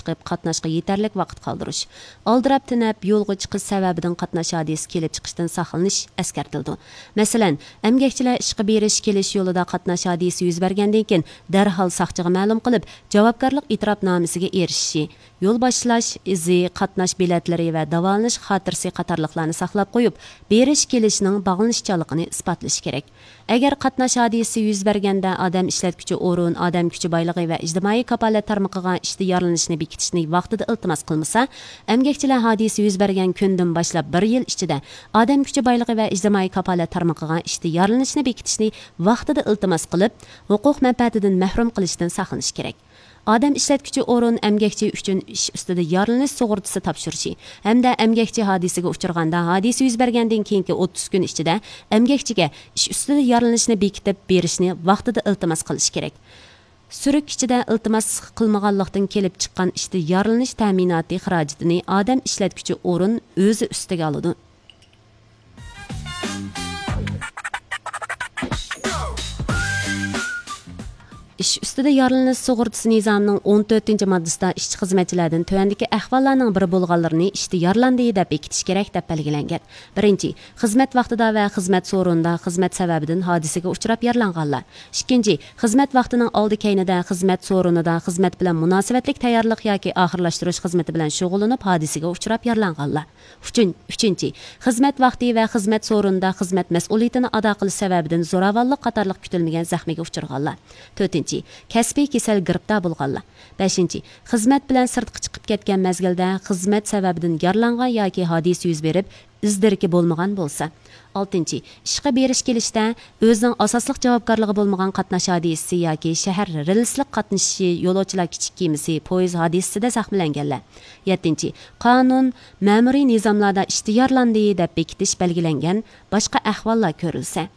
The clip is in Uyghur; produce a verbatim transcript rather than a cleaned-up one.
چىقىپ، قاتناشقا يېتەرلىك ۋاقىت قالدۇرۇش. ئالدىراپ تېنەپ يولغا چىقىش سەۋەبىدىن قاتناش ھادىسىسى كېلىپ چىقىشتىن ساقلىنىش ئەسكەرتىلىدۇ. مەسىلەن، ئەمگەكچىلەر ئىشقا بېرىش، كېلىش يولىدا قاتناش ھادىسىسى يۈز بەرگەندىن كېيىن، دەرھال ساقچىغا مەلۇم قىلىپ، جاۋابكارلىق ئېتىراپنامىسىگە ئېرىشىشى، يول باشلاش ئىزى، قاتناش بېلەتلىرى ۋە داۋالىنىش خاتىرىسى قاتارلىقلارنى ساقلاپ قويۇپ، بېرىش، كېلىشنىڭ باغلىنىشچانلىقىنى ئىسپاتلىشى كېرەك. ئەگەر قاتناش ھادىسىسى يۈز بەرگەندە ئادەم ئىشلەتكۈچى ئورۇن، ئادەم كۈچى بايلىقى ۋە ئىجتىمائىي كاپالەت تارمىقىغا ئىشتا يارىلىنىشنى بېكىتىشنى ۋاقتىدا ئىلتىماس قىلمىسا، ئەمگەكچىلەر ھادىسە يۈز بەرگەن كۈندىن باشلاپ بىر يىل ئىچىدە ئادەم كۈچى بايلىقى ۋە ئىجتىمائىي كاپالەت تارمىقىغا ئىشتا يارىلىنىشنى بېكىتىشنى ۋاقتىدا ئىلتىماس قىلىپ، ھوقۇق مەنپەئەتىدىن مەھرۇم قىلىشتىن ساقلىنىش كېرەك. ئادەم ئىشلەتكۈچى ئورۇن ئەمگەكچى ئۈچۈن ئىش ئۈستىدە يارىلىنىش سۇغۇرتىسى تاپشۇرۇشى ھەمدە ئەمگەكچى ھادىسىگە ئۇچرىغاندا، ھادىسە يۈز بەرگەندىن كېيىنكى ئوتتۇز كۈن ئىچىدە ئەمگەكچىگە ئىش ئۈستىدە يارىلىنىشنى بېكىتىپ بېرىشنى ۋاقتىدا ئىلتىماس قىلىش كېرەك. سۈرۈك ئىچىدە ئىلتىماس قىلمىغانلىقتىن كېلىپ چىققان ئىشتا يارىلىنىش تەمىناتى خىراجىتىنى ئادەم ئىشلەتكۈچى ئورۇن ئۆزى ئۈستىگە ئالىدۇ. ئىش ئۈستىدە يارىلىنىش سۇغۇرتىسى نىزامىنىڭ ئون تۆتىنچى ماددىسىدا ئىشچى خىزمەتچىلەردىن تۆۋەندىكى ئەھۋاللارنىڭ بىرى بولغانلىرىنى ئىشتا يارىلاندى دەپ بېكىتىش كېرەك دەپ بەلگىلەنگەن. بىرىنچى، خىزمەت ۋاقتىدا ۋە خىزمەت سورۇنىدا خىزمەت سەۋەبىدىن ھادىسىگە ئۇچراپ يارىلانغانلار. ئىككىنچى، خىزمەت ۋاقتىنىڭ ئالدى كەينىدە، خىزمەت سورۇنىدا، خىزمەت بىلەن مۇناسىۋەتلىك تەييارلىق ياكى ئاخىرلاشتۇرۇش خىزمىتى بىلەن شۇغۇللىنىپ، ھادىسىگە ئۇچراپ يارىلانغانلار. ئۈچىن-، ئۈچىنچى، خىزمەت ۋاقتى ۋە خىزمەت سورۇنىدا خىزمەت مەسئۇلىيىتىنى ئادا قىلىش سەۋەبىدىن زوراۋانلىق قاتارلىق كۈتۈلمىگەن زەخمىگە ئۇچرىغانلار. تۆتىنچى، كەسپىي كېسەل گىرىپتار بولغانلار. بەشىنچى، خىزمەت بىلەن سىرتقا چىقىپ كەتكەن مەزگىلدە خىزمەت سەۋەبىدىن يارىلانغان ياكى ھادىسە يۈز بېرىپ، ئىز دېرىكى بولمىغان بولسا. ئالتىنچى، ئىشقا بېرىش كېلىشتە ئۆزىنىڭ ئاساسلىق جاۋابكارلىقى بولمىغان قاتناش ھادىسىسى ياكى شەھەر رېلىسلىق قاتنىشىشى، يولۇچىلار كىچىك كېمىسى، پويىز ھادىسىسىدە زەخىملەنگەنلەر. يەتتىنچى، قانۇن، مەمۇرىي نىزاملاردا ئىشتا يارىلاندى دەپ بېكىتىش بەلگىلەنگەن باشقا ئەھۋاللار كۆرۈلسە.